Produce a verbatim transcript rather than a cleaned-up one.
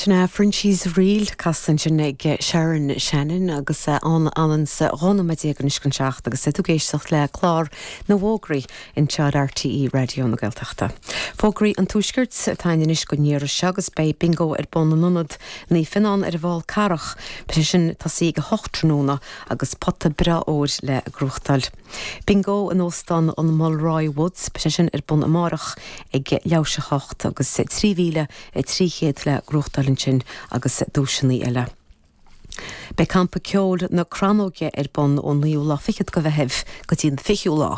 Sin Frenchie's Reel casta ansin ag Sharon Shannon agus an an sa dhá nóiméad déag chun seacht agus tú ag éisteacht le clár na bhfógraí anseo ar RTÉ Raidió na Gaeltachta. Fógraí an Tuaiscirt atá anois go n-iarraidh agus beidh bingo ar bun in ionad Naomh Fionnán ar an bhFál Carrach, Beidh sin tosaithe ag a hocht tráthnóna agus pota breá óir le gnóthachtáil. Bingo in óstán an Mulroy Woods, beidh sin ar bun amárach ag leathuair théis a hocht agus trí mhíle trí chéad le gnóthachtáil ansin agus duaiseanna eile. Beidh campa ceoil na Crannóige ar bun ón naoú lá fichead de Mheitheamh go dtí an fichiú lá.